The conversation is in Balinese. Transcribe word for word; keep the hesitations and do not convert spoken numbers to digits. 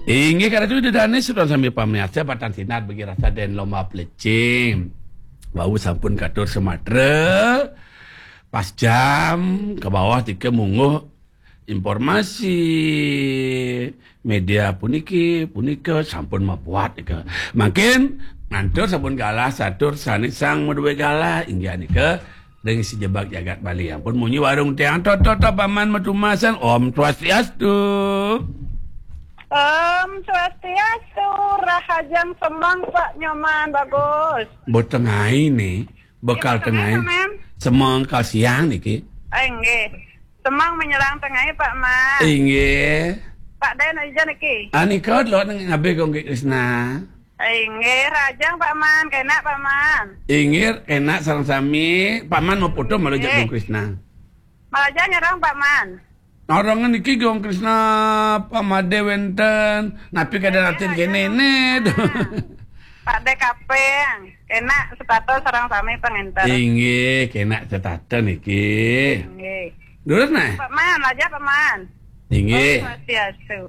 Inggih, karatu Ida Dané, sedaya sami pamiarsa, Batang Sinar bagi rasa dan lomba plecing. Wau sampun katur Sumatera, pas jam ke bawah tika mungguh informasi media puniki, punika sampun mapuat nika. Mangkin ngantur sampun galah satur sané sang madué galah, inggih nika ring sejebag jagat Bali. Ampun munyi warung tiang, to, to, to, Paman matumasan. Om Swastiastu. Om Swastiastu, rahajeng semeng Pak Nyoman, bagus. Botengahé né, bekal tengahé. Paman. Semeng kalsiang niki. Ah, inggih. Semeng menyerang tengahé, Pak Man. Inggih. Pak Dé, ija niki. Anika lo nang ngabih Gong Krisna. Inggih, rahajeng Pak Man, kénak Pak Man. Inggih, kénak sareng sami. Pak Man mau foto malu jak Gong Krisna. Malaja nyerang Pak Man. Orang niki Gong Krisna pamadé wénten, napi kadén atin kéné né. Pak Dé kaping, kénak setata sareng sami panginten. Inggih, kénak setata niki. Inggih. Durus nah. Pak Man, laja Pak Man. Inggih. Om Swastiastu.